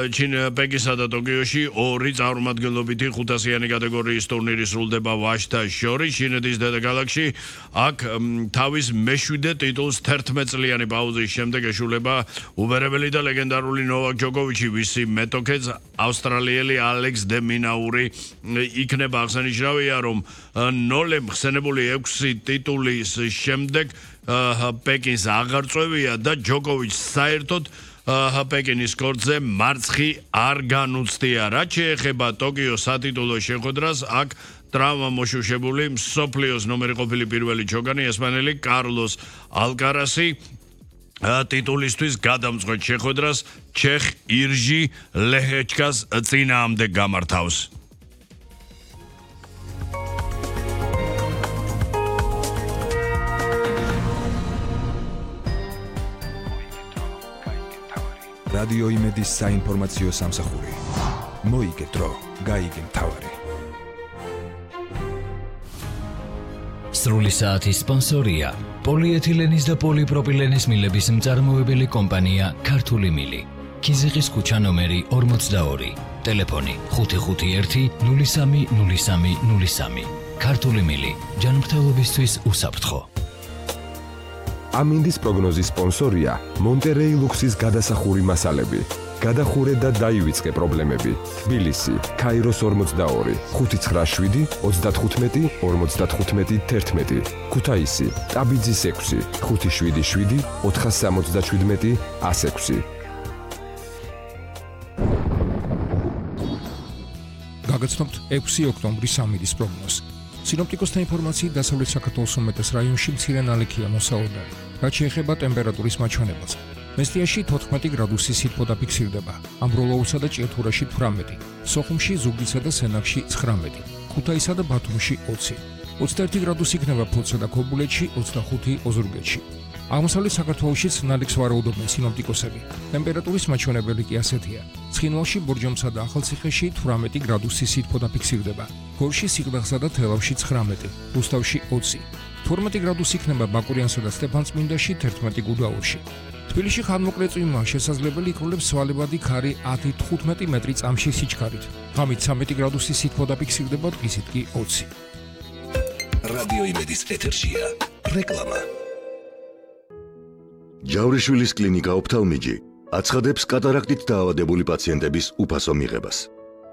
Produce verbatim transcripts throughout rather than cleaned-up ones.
ჩინ პეკინსა და ტოკიოში ორი წარმომადგენლობითი ხუთასიანი კატეგორიის ტურნირი სრულდება ვაჟთა შორის. ჩინეთის დედაქალაქში აქ თავის მეშვიდე ტიტულს თერთმეტ წლიანი პაუზის შემდეგ ეშულება უბერებელი და ლეგენდარული ნოვაკ ჯოკოვიჩი, ვისი მეტოქეც ავსტრალიელი ალექს დე მინაური იქნება. აღსანიშნავია, რომ ნოლემ ხსენებული ექვსი ტიტულის შემდეგ პეკინს აღარ წვევია და ჯოკოვიჩს საერთოდ პეკინის კორტზე მარცხი არ განუცდია. რაც შეეხება ტოკიოს სატიტულო შეხვედრას, აქ ტრავმა მოშუშებული მსოფლიოს ნომერი ყოფილი პირველი ჩოგანი ესპანელი კარლოს ალკარასი ტიტულისთვის გადამწყვეტ შეხვედრას ჩეხ ირჟი ლეჰეჩკას წინააღმდეგ გამართავს. რადიო იმედის საინფორმაციო სამსახური. მოიგე დრო, გაიგე მთავარი. სრული საათის სპონსორია პოლიეთილენის და პოლიპროპილენის მილების მწარმოებელი კომპანია ქართული მილი. ქიზიყის ქუჩა ნომერი ორმოცდაორი. ტელეფონი ხუთი ხუთი ერთი ნული სამი ნული სამი ნული სამი. ქართული მილი. ჯანმრთელობისთვის უსაფრთხო. ამინდის პროგნოზის სპონსორია მონტერეი ლუქსის გადასახური მასალები. გადახურე და დაივიწყე პრობლემები. თბილისი, ქაიროს ორმოცდაორი, ხუთი ცხრა შვიდი ოცდათხუთმეტი ორმოცდათხუთმეტი თერთმეტი. ქუთაისი, ტაბიძის ექვსი, ხუთი შვიდი შვიდი ოთხასამოცდაშვიდმეტი ასექვსი. გაგაცნობთ ექვსი ოქტომბრის ამინდის პროგნოზს. სინოპტიკოსთა ინფორმაციით დასავლეთ საქართველოს უმეტეს რაიონში მცირე ნალექია მოსავალდარი. რაც შეეხება ტემპერატურის მაჩვენებელს, მესტიაში თოთხმეტი გრადუსი სითბო დაფიქსირდება, ამბროლოურსა და ჭიათურაში თვრამეტი, სოხუმში, ზუგდიდსა და სენაკში ცხრამეტი, ქუთაისსა და ბათუმში ოცი, ოცდაერთი გრადუსი იქნება ფოთსა და ქობულეთში, ოცდახუთი ოზურგეთში. აღმოსავლეთ საქართველოშიც ნალექს ვარაუდობენ სინოპტიკოსები. ტემპერატურის მაჩვენებელი კი ასეთია. ცხინვალში, ბორჯომსა და ახალციხეში თვრამეტი გრადუსი სითბო დაფიქსირდება. გორში, სიღნაღსა და თელავში ცხრამეტი, რუსთავში ოცი. თორმეტი გრადუსი იქნება ბაკურიანსა და სტეფანწმინდაში, თერთმეტი გუდაურში. თბილისში ხანმოკლე წვიმაა შესაძლებელი, იქნებს სვალებადი ქარი ათი თხუთმეტი მეტრი წამში სიჩქარით. ღამით ცამეტი გრადუსი სითბო დაფიქსირდება, დღისით კი ოცი. რადიო იმედის ეთერშია რეკლამა. ჯავრიშვილის კლინიკა ოფთალმიჯი აცხადებს კატარაქტით დაავადებული პაციენტების უფასო მიღებას.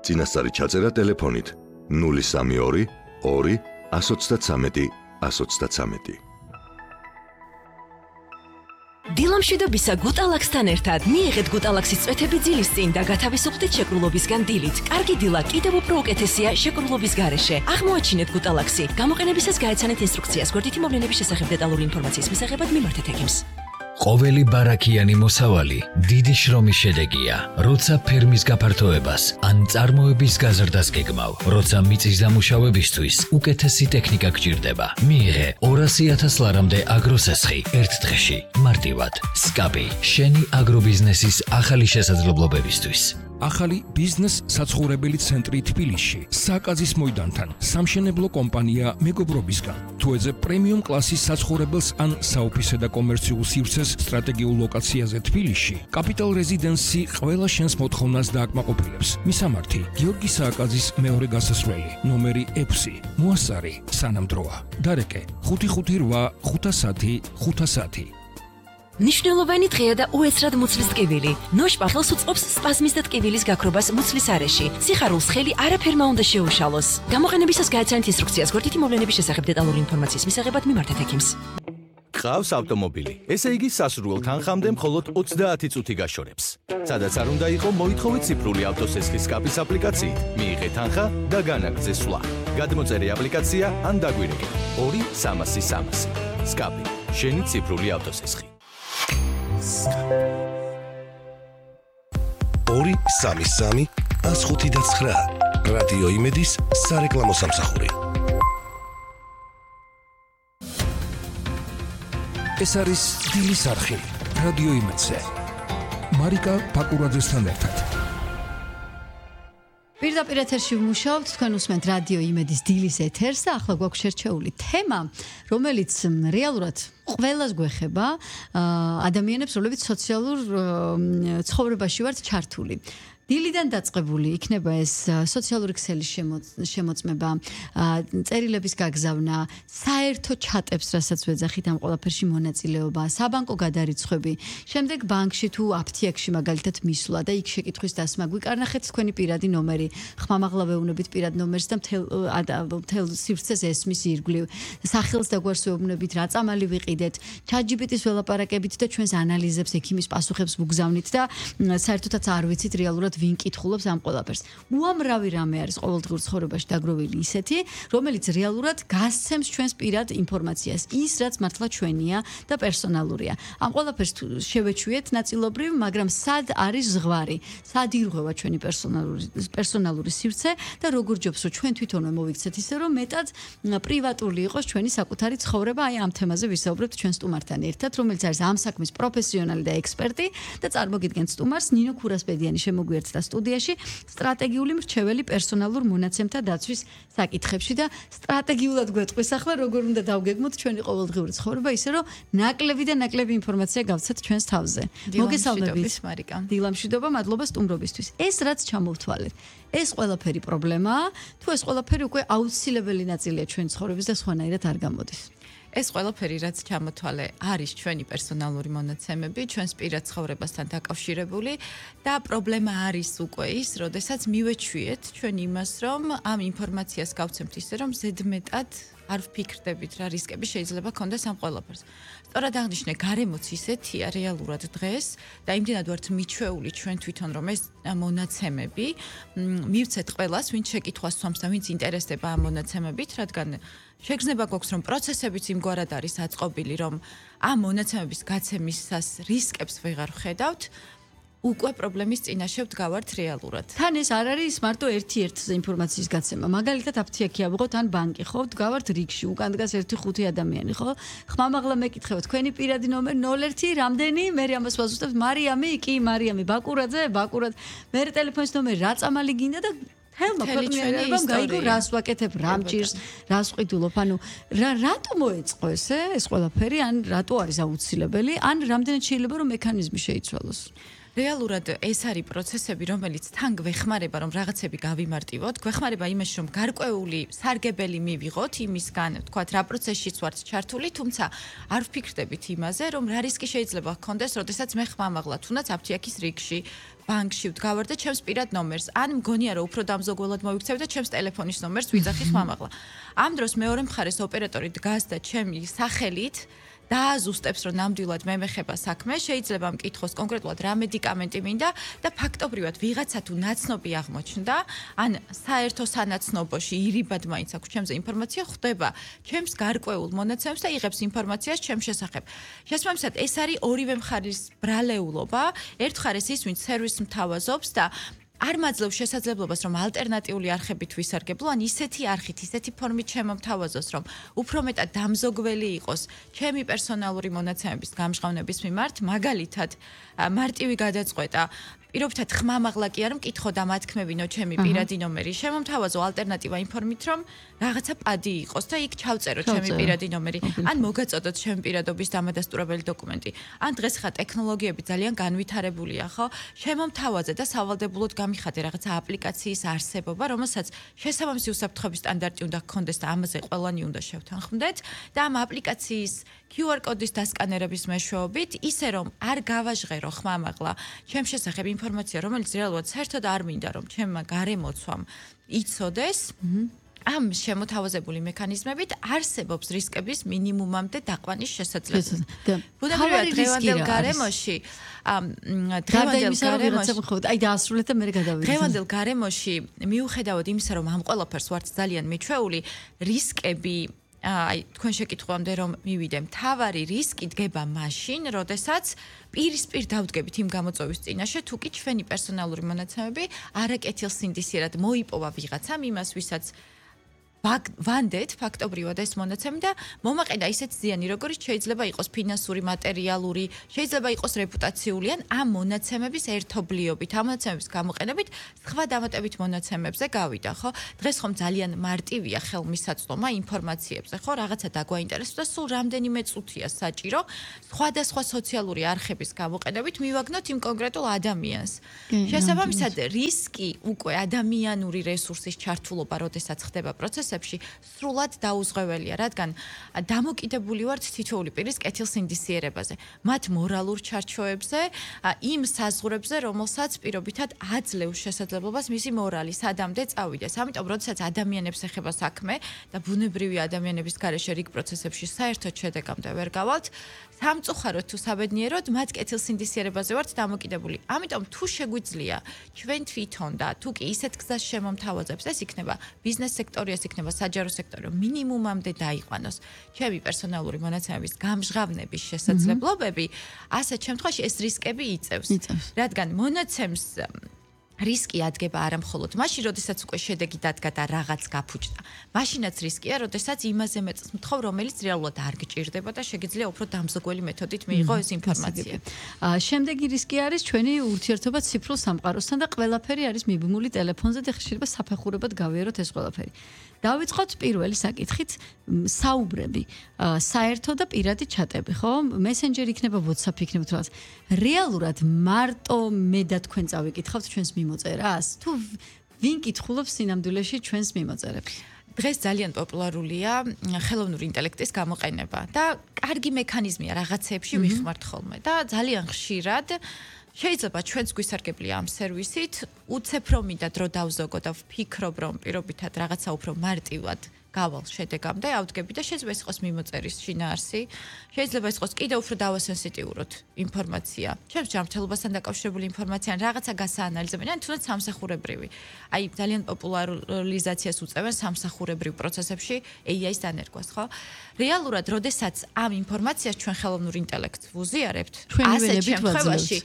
წინასწარი ჩაწერა ტელეფონით ნული სამი ორი ორი ათს ოცდათრამეტი ათს ოცდათრამეტი. დილამშვიდობისა გუტალაქსთან ერთად მიიღეთ გუტალაქსის წვეთები ძილის წინ და გათავისუფლდით შეკრულობისგან დილით. კარგი დილა კიდევ უფრო უკეთესია შეკრულობის გარეშე. აღმოაჩინეთ გუტალაქსი. გამოყენებისას გაეცანეთ ინსტრუქციას. გვერდითი მოვლენების შესახებ დეტალური ინფორმაციის მისაღებად მიმართეთ ექიმს. ყოველი ბარაქიანი მოსავალი დიდი შრომის შედეგია. როცა ფერმის გაფართოებას ან წარმოების გაზრდას გეგმავ, როცა მიწის დამუშავებისთვის უკეთესი ტექნიკა გჭირდება, მიიღე ორასი ათას ლარამდე აგროსესხი ერთ დღეში. მარტივად, სკაპი, შენი აგრობიზნესის ახალი შესაძლებლობებისთვის. ახალი ბიზნეს საცხოვრებელი ცენტრი თბილისში, საკაზის მოედანთან, სამშენებლო კომპანია მეგობრობისგან. თუ ეძებ პრემიუმ კლასის საცხოვრებელს ან საოფისე და კომერციულ სივრცეს სტრატეგიულ ლოკაციაზე თბილისში, კაპიტალ რეზიდენსი ყველა შენს მოთხოვნას დააკმაყოფილებს. მისამართი: გიორგი სააკაძის მეორე გასასვლელი, ნომერი ექვსი, მოასწარი, სანამ დროა. დარეკე: ხუთი ხუთი რვა ხუთასათი ხუთასათი. ნიშნულოვანი დღეა და უეცრად მუცლის ტკივილი. ნოშპახელს უწყობს სპაზმის და ტკივილის გაქრობას მუცლის არეში. სიხარულს ხელი არაფერმა უნდა შეუშალოს. გამოყენებისას გაეცანეთ ინსტრუქციას. გვერდითი მოვლენების შესახებ დეტალური ინფორმაციის მისაღებად მიმართეთ ექიმს. ყავს ავტომობილი. ესე იგი სასურველ თანხამდე მხოლოდ ოცდაათი წუთი გაშორებს. სადაც არ უნდა იყო, მოითხოვეთ ციფრული ავტოსესხის სკაპის აპლიკაციით. მიიღეთ თანხა და განაგრძე სვლა. გადმოწერე აპლიკაცია ან დაგვირეკე ორი სამასი სამასი. სკაპი, შენი ციფრული ავტოსესხი. ორი სამი სამი ათს ხუთი და ცხრა. რადიო იმედის სარეკლამო სამსახური. ეს არის დილის არხი რადიო იმედზე. მარიკა ბაკურაძესთან ერთად. პირდაპირ ეთერში ვმუშაობთ, თქვენ უსმენთ რადიო იმედის დილის ეთერს და ახლა გვაქვს შერჩეული თემა, რომელიც რეალურად ყველას გვეხება, ადამიანებს, რომლებიც სოციალურ ცხოვრებაში ვართ ჩართული. დილიდან დაწყებული იქნება ეს სოციალური ქსელის შემოწმება, წერილების გაგზავნა, საერთო ჩატებს, რასაც ვეძახით ამ ყველაფერში მონაწილეობა, საბანკო გადარიცხვები, შემდეგ ბანკში თუ აფთიაქში მაგალითად მისვლა და იქ შეკითხვის დასმა გვიკარნახეთ თქვენი პირადი ნომერი, ხმამაღლა ვეუბნებით პირად ნომერს და მთელ მთელ სივრცეს ესმის ირგვლივ, სახელს და გვარს ვეუბნებით, რა წამალი ვიყიდეთ, ChatGPT-ს ველაპარაკებით და ჩვენს ანალიზებს, ექიმის პასუხებს ვუგზავნით და საერთოდაც არ ვიცით რეალურად ვინ კითხულობს ამ ყველაფერს. უამრავი რამე არის ყოველდღიურ ცხოვრებაში დაგროვილი ისეთი, რომელიც რეალურად გასცემს ჩვენს პირად ინფორმაციას, ის რაც მართლა ჩვენია და პერსონალურია. ამ ყველაფერს შევეჩვიეთ ნაწილობრივ, მაგრამ სად არის ზღვარი? სად ირღვევა ჩვენი პერსონალური პერსონალური სივრცე და როგორ ჯობს რომ ჩვენ თვითონვე მოვიქცეთ ისე რომ მეტად პრივატული იყოს ჩვენი საკუთარი ცხოვრება, აი ამ თემაზე ვისაუბრებთ ჩვენ სტუმართან ერთად, რომელიც არის ამ საქმის პროფესიონალი და ექსპერტი და წარმოგიდგენთ სტუმარს ნინო ქურასპედიანი შემოგვიერთდა სტუდიაში სტრატეგიული მრჩეველი პერსონალურ მონაცემთა დაცვის საკითხებში და სტრატეგიულად გვეტყვის ახლა როგორ უნდა დავგეგმოთ ჩვენი ყოველდღიური ცხოვრება ისე რომ ნაკლები და ნაკლები ინფორმაცია გავცეთ ჩვენს თავზე. მოგესალმებით მარიკა. დილამშვიდობა, მადლობა სტუმრობისთვის. ეს რაც ჩამოვთვალეთ, ეს ყველაფერი პრობლემაა, თუ ეს ყველაფერი უკვე აუცილებელი ნაწილია ჩვენი ცხოვრების და სხვანაირად არ გამოდის? ეს ყველაფერი რაც ჩამოთვალე არის ჩვენი პერსონალური მონაცემები, ჩვენს პირად ცხოვრებასთან დაკავშირებული და პრობლემა არის უკვე ის, როდესაც მივეჩვიეთ ჩვენ იმას, რომ ამ ინფორმაციას გავცემთ ისე, რომ ზედმეტად არ ვფიქრდებით რა რისკები შეიძლება ქონდეს ამ ყველაფერს. სწორად აღნიშნე, გარემოც ისეთია რეალურად დღეს და იმდენად ვართ მიჩვეული ჩვენ თვითონ, რომ ეს მონაცემები მივცეთ ყველას, ვინც შეკითხვას სვამს და ვინც ინტერესდება ამ მონაცემებით, რადგან შეგრძნება გვაქვს, რომ პროცესებიც იმგვარად არის აწყობილი, რომ ამ მონაცემების გაცემისას რისკებს ვეღარ ვხედავთ, უკვე პრობლემის წინაშე ვდგავართ რეალურად. თან ეს არ არის მარტო ერთ-ერთ ინფორმაციის გაცემა. მაგალითად აფთიაქი ავიღოთ ან ბანკი, ხო? ვდგავართ რიგში, უკან დგას ერთი ხუთი ადამიანი, ხო? ხმამაღლა მეკითხებთ, თქვენი პირადი ნომერი ნულ ერთი, რამდენი? მე ამას ვაზუსტებთ, მარიამი, კი, მარიამი, ბაკურაძე, ბაკურად. მე ტელეფონის ნომერი რა წამალი გინდა და ჰელმა ქვეყნიერებამ გაიგო რას ვაკეთებ, რა მჭირს, რას ვყიდულობ, ანუ რა რატო მოეწყო ესე ეს ყველაფერი, ან რატო არის აუცილებელი, ან რამდენად შეიძლება რომ მექანიზმი შეიცვალოს? რეალურად ეს არის პროცესები, რომელიც თან გვეხმარება, რომ რაღაცები გავიმარტივოთ, გვეხმარება იმაში, რომ გარკვეული სარგებელი მივიღოთ იმისგან, თქვათ, რა პროცესშიც ვართ ჩართული, თუმცა არ ვფიქრდებით იმაზე, რომ რა რისკი შეიძლება გქონდეს, როდესაც მე ხმამაღლა, თუნდაც აფთიაქის რიგში, ბანკში ვდგავარ და ჩემს პირად ნომერს, ან მგონია რომ უფრო დამზოგველად მოვიქცევ და ჩემს ტელეფონის ნომერს ვიძახი ხმამაღლა. ამ დროს მეორე მხარეს ოპერატორი დგას და ჩემი სახელით დააზუსტებს, რომ ნამდვილად მე მეხება საქმე, შეიძლება მკითხოს კონკრეტულად რა მედიკამენტი მინდა და ფაქტობრივად ვიღაცა თუ ნაცნობი აღმოჩნდა, ან საერთო სანაცნობოში ირიბად მაინც აქვს ჩემზე ინფორმაცია, ხვდება ჩემს გარკვეულ მონაცემებს და იღებს ინფორმაციას ჩემს შესახებ. შესაბამისად, ეს არის ორივე მხარის ბრალეულობა, ერთ მხარეს ის, ვინც სერვისს მთავაზობს და არ მაძლევს შესაძლებლობას, რომ ალტერნატიული არხებით ვისარგებლო, ან ისეთი არხით, ისეთი ფორმით შემომთავაზოს, რომ უფრო მეტად დამზოგველი იყოს ჩემი პერსონალური მონაცემების გამჟღავნების მიმართ, მაგალითად, მარტივი გადაწყვეტა პირობითად ხმამაღლა კი არ მკითხო და მათქმევინო ჩემი პირადი ნომერი, შემომთავაზო ალტერნატივა იმ ფორმით, რომ რაღაცა პადი იყოს და იქ ჩავწერო ჩემი პირადი ნომერი, ან მოგაწოდოთ ჩემი პირადობის დამადასტურებელი დოკუმენტი. ან დღეს ხა ტექნოლოგიები ძალიან განვითარებულია, ხო? შემომთავაზე და სავალდებულოდ გამიხადე რაღაცა აპლიკაციის არსებობა, რომელსაც შესაბამისი უსაფრთხოების სტანდარტი უნდა გქონდეს და ამაზე ყველანი უნდა შევთანხმდეთ და ამ აპლიკაციის კიუ არ კოდის დასკანერების მეშვეობით, ისე რომ არ გავაჟღერო ხმამაღლა ჩემ შესახებ ინფორმაცია, რომელიც რეალურად საერთოდ არ მინდა, რომ ჩემმა გარემოცვამ იცოდეს, ამ შემოთავაზებული მექანიზმებით არსებობს რისკების მინიმუმამდე დაყვანის შესაძლებლობა. ბუნებრივად დღევანდელ გარემოში, დღევანდელ გარემოში, აი დაასრულეთ და მე გადავიდე. დღევანდელ გარემოში მიუხედავად იმისა, რომ ამ ყველაფერს ვართ ძალიან მიჩვეული, რისკები აი თქვენ შეკითხვამდე რომ მივიდე, მთავარი რისკი დგება მაშინ, როდესაც პირისპირ დავდგებით იმ გამოწვევის წინაშე, თუ კი ჩვენი პერსონალური მონაცემები არაკეთილსინდისიერად მოიპოვა ვიღაცამ იმას, ვისაც ვანდეთ ფაქტობრივად ეს მონაცემი და მომაყედა ისეთ ზიანი, როგორც შეიძლება იყოს ფინანსური, მატერიალური, შეიძლება იყოს რეპუტაციული ან ამ მონაცემების ერთობლიობით, ამ მონაცემების გამოყენებით სხვა დამატებით მონაცემებზე გავიდა, ხო? დღეს ხომ ძალიან მარტივია ხელმისაწვდომა ინფორმაციებზე, ხო? რაღაცა დაგვაინტერესებს და სულ რამდენიმე წუთია საჭირო სხვადასხვა სოციალური არხების გამოყენებით მივაგნოთ იმ კონკრეტულ ადამიანს. შესაბამისად, რისკი უკვე ადამიანური რესურსის ჩართულობა, როდესაც ხდება პროცესებში სრულად დაუზღვეველია, რადგან დამოკიდებული ვართ თითოეული პირის კეთილსინდისიერებაზე, მათ მორალურ ჩარჩოებზე, იმ საზღვრებზე, რომელსაც პირობითად აძლევს შესაძლებლობას მისი მორალი სადამდე წავიდეს. ამიტომ, როდესაც ადამიანებს ეხება საქმე და ბუნებრივი ადამიანების გარეშე რიგ პროცესებში საერთოდ შედეგამდე ვერ გავალთ, სამწუხაროდ თუ საბედნიეროდ მათ კეთილსინდისიერებაზე ვართ დამოკიდებული. ამიტომ თუ შეგვიძლია ჩვენ თვითონ და თუ კი ისეთ გზას შემომთავაზებს, ეს იქნება ბიზნეს სექტორი, ეს იქნება საჯარო სექტორი, მინიმუმამდე დაიყვანოს ჩემი პერსონალური მონაცემების გამჟღავნების შესაძლებლობები, ასეთ შემთხვევაში ეს რისკები იწევს. რადგან მონაცემს რისკი ადგება არა მხოლოდ მაშინ, როდესაც უკვე შედეგი დადგა და რაღაც გაფუჭდა. მაშინაც რისკია, როდესაც იმაზე მეწს მთხოვ, რომელიც რეალურად არ გჭირდება და შეგიძლია უფრო დამზოგველი მეთოდით მიიღო ეს ინფორმაცია. შემდეგი რისკი არის ჩვენი ურთიერთობა ციფრულ სამყაროსთან და ყველაფერი არის მიბმული ტელეფონზე და შეიძლება საფეხურებად გავიაროთ ეს ყველაფერი. დავიწყოთ პირველი საკითხით, საუბრები, საერთო და პირადი ჩატები, ხო? მესენჯერი იქნება, WhatsApp იქნება თუ რაღაც. რეალურად მარტო მე და თქვენ წავიკითხავთ ჩვენს მიმოწერას? თუ ვინ კითხულობს სინამდვილეში ჩვენს მიმოწერებს? დღეს ძალიან პოპულარულია ხელოვნური ინტელექტის გამოყენება და კარგი მექანიზმია რაღაცეებში ვიხმართ ხოლმე და ძალიან ხშირად შეიძლება ჩვენს გვისარგებლია ამ სერვისით, უცებ რომ მინდა დრო დავზოგო და ვფიქრობ რომ პირობითად რაღაცა უფრო მარტივად გავალ შედეგამდე, ავდგები და შეიძლება ეს იყოს მიმოწერის შინაარსი, შეიძლება ეს იყოს კიდევ უფრო დავასენსიტიუროთ ინფორმაცია, ჩემს ჯანმრთელობასთან დაკავშირებული ინფორმაცია, ან რაღაცა გასაანალიზებენ, ან თუნდაც სამსახურებრივი. აი ძალიან პოპულარიზაციას უწევენ სამსახურებრივ პროცესებში ეი აის დანერგვას, ხო? რეალურად, როდესაც ამ ინფორმაციას ჩვენ ხელოვნურ ინტელექტს ვუზიარებთ, ასეთ შემთხვევაში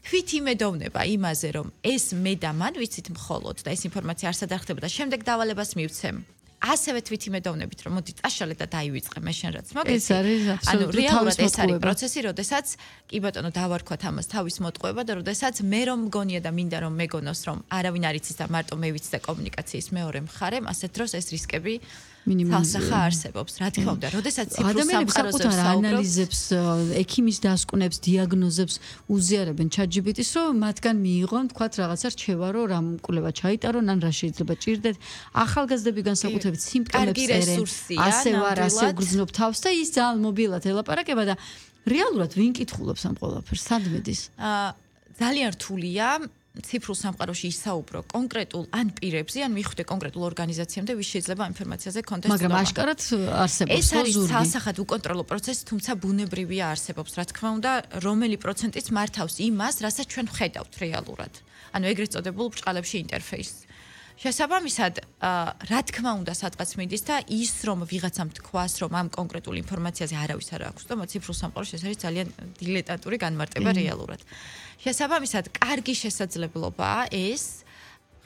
თვით იმედოვნება იმაზე, რომ ეს მე და მან ვიცით მხოლოდ და ეს ინფორმაცია არ სადარხდება და შემდეგ დავალებას მივცემ. ასევე თვით იმედოვნებით, რომ მოდი წაშალე და დაივიწყე მე შენ რაც მოგეცი. ეს არის ანუ აბსოლუტურად რეალურად ეს არის მოტყუება. პროცესი, როდესაც კი ბატონო დავარქვათ ამას თავის მოტყუება და როდესაც მე რომ მგონია და მინდა რომ მეგონოს რომ არავინ არ იცის და მარტო მე ვიცი და კომუნიკაციის მეორე მხარემ, ასეთ დროს ეს რისკები თალსახა არსებობს, რა თქმა უნდა, როდესაც ციფრულ სამყაროზე ადამიანებს ანალიზებს, ექიმის დასკვნებს, დიაგნოზებს უზიარებენ ChatGPT-ს, რომ მათგან მიიღონ, თქვათ, რაღაცა რჩევა, რომ რამ კვლევა ჩაიტარონ, ან რა შეიძლება ჭირდეთ. ახალგაზრდები განსაკუთრებით სიმპტომებს წერენ, ასე ვარ, ასე ვგრძნობ თავს და ის ძალიან მობილად ელაპარაკება და რეალურად ვინ კითხულობს ამ ყველაფერს, სად მიდის? ძალიან რთულია ციფრულ სამყაროში ისაუბრო კონკრეტულ ან პირებზე, ან მიხვდე კონკრეტულ ორგანიზაციამდე, ვის შეიძლება ინფორმაციაზე კონტესტ უნდა. მაგრამ აშკარად არსებობს ეს არის ცალსახად უკონტროლო პროცესი, თუმცა ბუნებრივია არსებობს, რა თქმა უნდა, რომელი პროცენტიც მართავს იმას, რასაც ჩვენ ვხედავთ რეალურად. ანუ ეგრეთ წოდებულ ბრჭყალებში ინტერფეისს. შესაბამისად, რა თქმა უნდა, სადღაც მიდის და ის რომ ვიღაცამ თქვას, რომ ამ კონკრეტულ ინფორმაციაზე არავის არ აქვს და ციფრულ სამყაროში ეს არის ძალიან დილეტანტური განმარტება რეალურად. შესაბამისად, კარგი შესაძლებლობაა ეს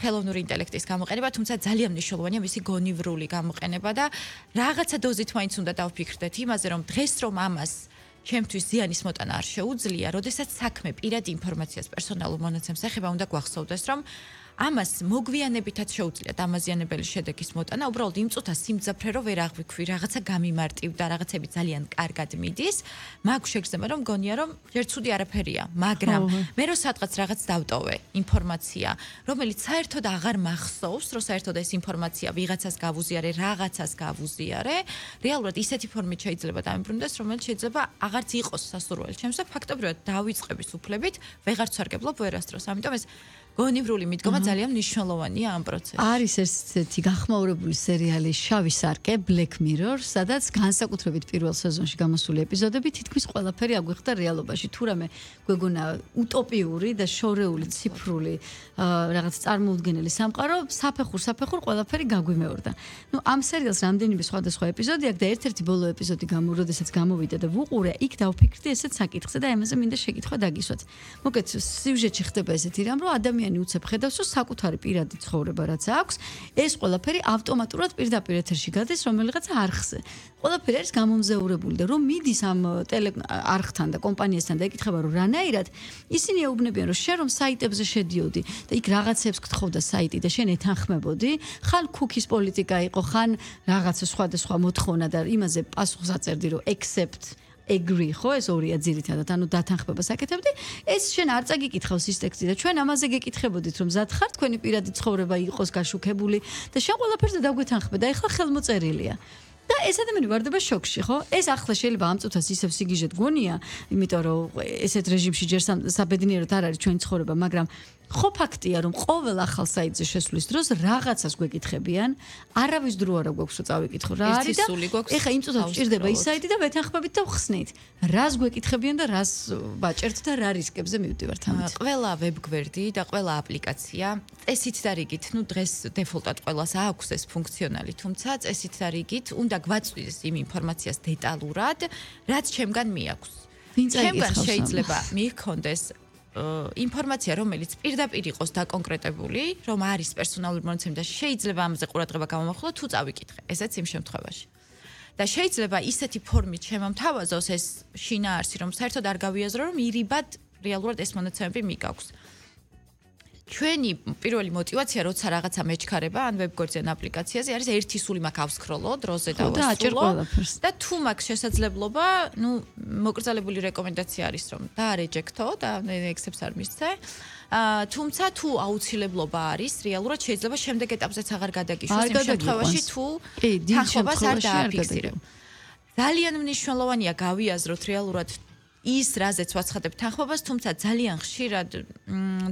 ხელოვნური ინტელექტის გამოყენება, თუმცა ძალიან მნიშვნელოვანია მისი გონივრული გამოყენება და რაღაცა დოზით მაინც უნდა დავფიქრდეთ იმაზე, რომ დღეს რომ ამას ჩემთვის ზიანის მოტანა არ შეუძლია, როდესაც საქმე პირადი ინფორმაციას პერსონალურ მონაცემს ეხება, უნდა გვახსოვდეს, რომ ამას მოგვიანებითაც შეუძლია დამაზიანებელი შედეგის მოტანა, უბრალოდ იმ წუთას სიმძაფრე რო ვერ აღვიქვი, რაღაცა გამიმარტივდა, რაღაცები ძალიან კარგად მიდის, მაგ შეგრძნება რომ მგონია რომ ჯერ ცუდი არაფერია, მაგრამ მე რო სადღაც რაღაც დავტოვე ინფორმაცია, რომელიც საერთოდ აღარ მახსოვს, რომ საერთოდ ეს ინფორმაცია ვიღაცას გავუზიარე, რაღაცას გავუზიარე, რეალურად ისეთი ფორმით შეიძლება დამიბრუნდეს, რომელიც შეიძლება აღარც იყოს სასურველი ჩემს და ფაქტობრივად დავიწყების უფლებით ვეღარ ვსარგებლობ ვერასდროს. ამიტომ ეს გონივრული მიდგომა ძალიან მნიშვნელოვანია ამ პროცესში. არის ესეთი გახმაურებული სერიალი შავი სარკე, Black Mirror, სადაც განსაკუთრებით პირველ სეზონში გამოსული ეპიზოდები თითქმის ყველაფერი აგვიხდა რეალობაში. თუ რამე გვეგონა უტოპიური და შორეული ციფრული რაღაც წარმოუდგენელი სამყარო, საფეხურ საფეხურ ყველაფერი გაგვიმეორდა. ნუ ამ სერიალს რამდენიმე სხვადასხვა ეპიზოდი აქვს და ერთ-ერთი ბოლო ეპიზოდი გამოროდესაც გამოვიდა და ვუყურე, იქ დავფიქრდი ესეთ საკითხზე და ამაზე მინდა შეკითხვა დაგისვათ. მოკეთ სიუჟეტში ხდება ესეთი რამ, რომ ადამიანი ადამიანი უცებ ხედავს, რომ საკუთარი პირადი ცხოვრება რაც აქვს, ეს ყველაფერი ავტომატურად პირდაპირ ეთერში გადის რომელიღაც არხზე. ყველაფერი არის გამომზეურებული და რომ მიდის ამ ტელე არხთან და კომპანიასთან და ეკითხება რომ რანაირად ისინი ეუბნებიან რომ შენ რომ საიტებზე შედიოდი და იქ რაღაცებს გთხოვდა საიტი და შენ ეთანხმებოდი, ხან cookies პოლიტიკა იყო, ხან რაღაცა სხვადასხვა მოთხოვნა და იმაზე პასუხს აწერდი რომ accept agree ხო ეს ორია ძირითადად ანუ დათანხმებას აკეთებდი ეს შენ არ წაგიკითხავს ის ტექსტი და ჩვენ ამაზე გეკითხებოდით რომ მზად ხარ თქვენი პირადი ცხოვრება იყოს გაშუქებული და შენ ყველაფერზე დაგვეთანხმე და ეხლა ხელმოწერილია და ეს ადამიანი ვარდება შოკში ხო ეს ახლა შეიძლება ამ წუთას ისევ სიგიჟეთ გონია იმიტომ რომ ესეთ რეჟიმში ჯერ საბედნიეროდ არ არის ჩვენი ცხოვრება მაგრამ ხო ფაქტია რომ ყოველ ახალ საიტზე შესვლის დროს რაღაცას გვეკითხებიან არავის დრო არა გვაქვს რომ წავიკითხო რა არის და ეხა იმ წუთას ჭირდება ის საიტი და ვეთანხმებით და ვხსნით რას გვეკითხებიან და რას ვაჭერთ და რა რისკებზე მივდივართ ამით ყველა ვებგვერდი და ყველა აპლიკაცია წესით და რიგით ნუ დღეს დეფოლტად ყველას აქვს ეს ფუნქციონალი თუმცა წესით და რიგით უნდა გვაწვდეს იმ ინფორმაციას დეტალურად რაც ჩემგან მიაქვს ჩემგან შეიძლება მიქონდეს ინფორმაცია რომელიც პირდაპირ იყოს დაკონკრეტებული, რომ არის პერსონალური მონაცემი და შეიძლება ამაზე ყურადღება გამომახვილო თუ წავიკითხე. ესეც იმ შემთხვევაში. და შეიძლება ისეთი ფორმით შემომთავაზოს ეს შინაარსი, რომ საერთოდ არ გავიაზრო, რომ ირიბად რეალურად ეს მონაცემები მიგაქვს. ჩვენი პირველი мотиваცია როცა რაღაცა მეჩქარება ან ვებგვერდზე ან აპლიკაციაზე არის ერთი სული მაქვს ავსკროლო დროზე და ვასწავლო და თუ მაქვს შესაძლებლობა ნუ მოკრძალებული რეკომენდაცია არის რომ დაარეჯექტო და ექსებს არ მისცე თუმცა თუ აუცილებლობა არის რეალურად შეიძლება შემდეგ ეტაპზეც აღარ გადაგიშვას იმ შემთხვევაში თუ თანხმობას არ დააფიქსირებ ძალიან მნიშვნელოვანია გავიაზროთ რეალურად ის რაზეც ვაცხადებთ თანხმობას, თუმცა ძალიან ხშირად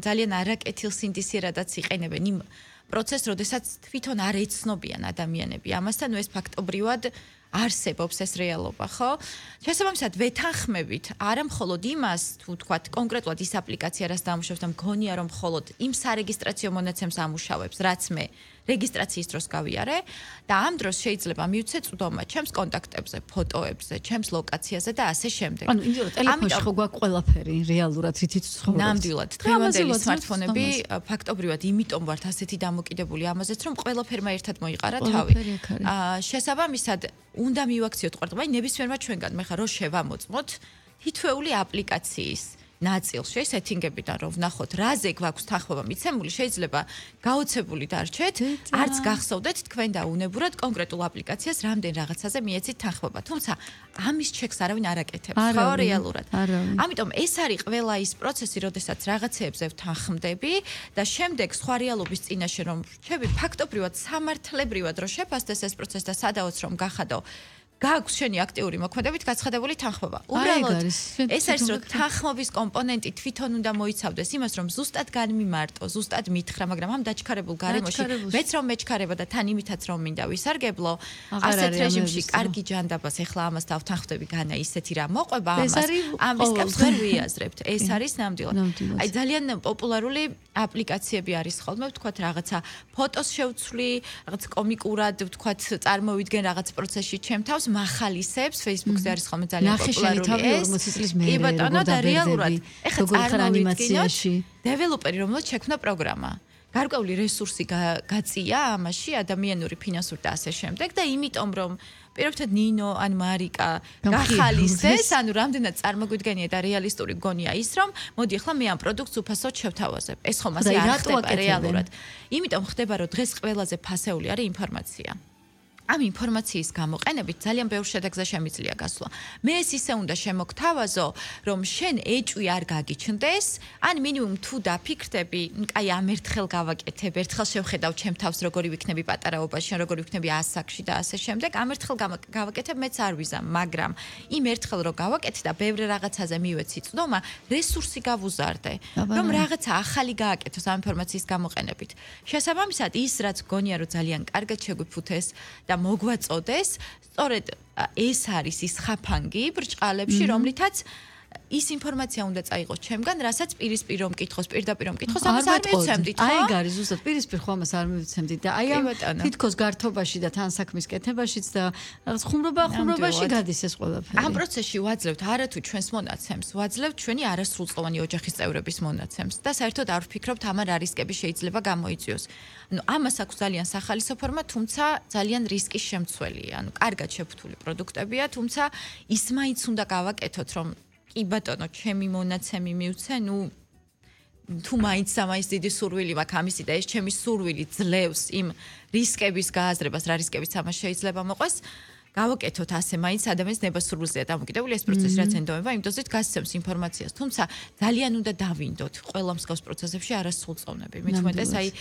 ძალიან არაკეთილსინდისიერადაც იყენებენ იმ პროცესს, როდესაც თვითონ არ ეცნობიან ადამიანები. ამასთან ეს ფაქტობრივად არსებობს ეს რეალობა, ხო? შესაბამისად ვეთანხმებით არა მხოლოდ იმას, თუ თქვათ კონკრეტულად ის აპლიკაცია რას დამუშავებს და მგონია რომ მხოლოდ იმ სარეგისტრაციო მონაცემს ამუშავებს, რაც მე რეგისტრაციის დროს გავიარე და ამ დროს შეიძლება მივცე წვდომა ჩემს კონტაქტებზე, ფოტოებზე, ჩემს ლოკაციაზე და ასე შემდეგ. ანუ იმდენად ტელეფონში ხო გვაქვს ყველაფერი რეალურად რითიც ცხოვრობთ. ნამდვილად, დღევანდელი სმარტფონები ფაქტობრივად იმიტომ ვართ ასეთი დამოკიდებული ამაზეც, რომ ყველაფერმა ერთად მოიყარა თავი. აა შესაბამისად უნდა მივაქციოთ ყურადღება, ნებისმიერმა ჩვენგან მე ხარ რო შევამოწმოთ თითოეული აპლიკაციის ნაწილში სეტინგებიდან რომ ვნახოთ რაზე გვაქვს თანხმობა მიცემული შეიძლება გაოცებული დარჩეთ არც გახსოვდეთ თქვენ და უნებურად კონკრეტულ აპლიკაციას რამდენ რაღაცაზე მიეცით თანხმობა თუმცა ამის ჩეკს არავინ არ აკეთებს ხო რეალურად ამიტომ ეს არის ყველა ის პროცესი როდესაც რაღაცეებზე ვთანხმდები და შემდეგ სხვა რეალობის წინაშე რომ რჩები ფაქტობრივად სამართლებრივად რომ შეფასდეს ეს პროცესი და სადაოც რომ გახადო გაქვს შენი აქტიური მოქმედებით გაცხადებული თანხმობა. უბრალოდ ეს არის რომ თანხმობის კომპონენტი თვითონ უნდა მოიცავდეს იმას რომ ზუსტად განმიმარტო, ზუსტად მითხრა, მაგრამ ამ დაჩქარებულ გარემოში მეც რომ მეჩქარება და თან იმითაც რომ მინდა ვისარგებლო, ასეთ რეჟიმში კარგი ჯანდაბას ეხლა ამას დავთანხმდები განა ისეთი რა მოყვება ამას. ამ რისკებს ვერ ვიაზრებთ. ეს არის ნამდვილად. აი ძალიან პოპულარული აპლიკაციები არის ხოლმე, ვთქვათ რაღაცა ფოტოს შევცვლი, რაღაც კომიკურად ვთქვათ წარმოვიდგენ რაღაც პროცესში ჩემთავს მახალისებს Facebook-ზე არის ხოლმე ძალიან პოპულარული ეს. კი ბატონო და რეალურად ეხლა წარმოვიდგინოთ დეველოპერი რომელიც შექმნა პროგრამა. გარკვეული რესურსი გაწია ამაში ადამიანური ფინანსური და ასე შემდეგ და იმიტომ რომ პირობითად ნინო ან მარიკა გახალისეს ანუ რამდენად წარმოგვიდგენია და რეალისტური გონია ის რომ მოდი ახლა მე ამ პროდუქტს უფასოდ შევთავაზებ. ეს ხომ ასე არ ხდება რეალურად. იმიტომ ხდება რომ დღეს ყველაზე ფასეული არის ინფორმაცია. ამ ინფორმაციის გამოყენებით ძალიან ბევრ შედეგზე შემიძლია გასვლა. მე ეს ისე უნდა შემოგთავაზო, რომ შენ ეჭვი არ გაგიჩნდეს, ან მინიმუმ თუ დაფიქრდები, კაი ამ ერთხელ გავაკეთებ, ერთხელ შევხედავ ჩემ თავს როგორი ვიქნები პატარაობაში, შენ როგორი ვიქნები ასაკში და ასე შემდეგ, ამ ერთხელ გავაკეთებ, მეც არ ვიზამ, მაგრამ იმ ერთხელ რო გავაკეთე და ბევრ რაღაცაზე მივეცი წვდომა, რესურსი გავუზარდე, რომ რაღაცა ახალი გააკეთოს ამ ინფორმაციის გამოყენებით. შესაბამისად, ის რაც გონია რომ ძალიან კარგად შეგვიფუთეს და მოგვაწოდეს, სწორედ ეს არის ის ხაფანგი ბრჭყალებში, რომლითაც ის ინფორმაცია უნდა წაიღოს ჩემგან, რასაც პირისპირ რომ მკითხოს, პირდაპირ რომ მკითხოს, ამას არ მეთყოდით. მივცემდით, ხო? აი ეგ არის ზუსტად პირისპირ ხო ამას არ მივცემდით და აი ამ კი, ბატონო. თითქოს გართობაში და თან საქმის კეთებაშიც და რაღაც ხუმრობა ხუმრობაში ნამდვილად. გადის ეს ყველაფერი. ამ პროცესში ვაძლევთ არათუ ჩვენს მონაცემს, ვაძლევთ ჩვენი არასრულწლოვანი ოჯახის წევრების მონაცემს და საერთოდ არ ვფიქრობთ ამარ რა რისკები შეიძლება გამოიწვიოს. ანუ ამას აქვს ძალიან სახალისო ფორმა, თუმცა ძალიან რისკის შემცველია. ანუ კარგად შეფუთული პროდუქტებია, თუმცა ის მაინც უნდა გავაკეთოთ, რომ კი ბატონო, ჩემი მონაცემი მივცე, ნუ თუ მაინც ამაის დიდი სურვილი მაქვს ამისი და ეს ჩემი სურვილი ძლევს იმ რისკების გააზრებას, რა რისკებიც ამას შეიძლება მოყვეს. გავაკეთოთ ასე მაინც ადამიანის ნებასურვილზეა დამოკიდებული ეს პროცესი, რაც ენდომება, იმ დოზით გასცემს ინფორმაციას. თუმცა ძალიან უნდა დავინდოთ ყველა მსგავს პროცესებში არასრულწლოვნები. მით უმეტეს აი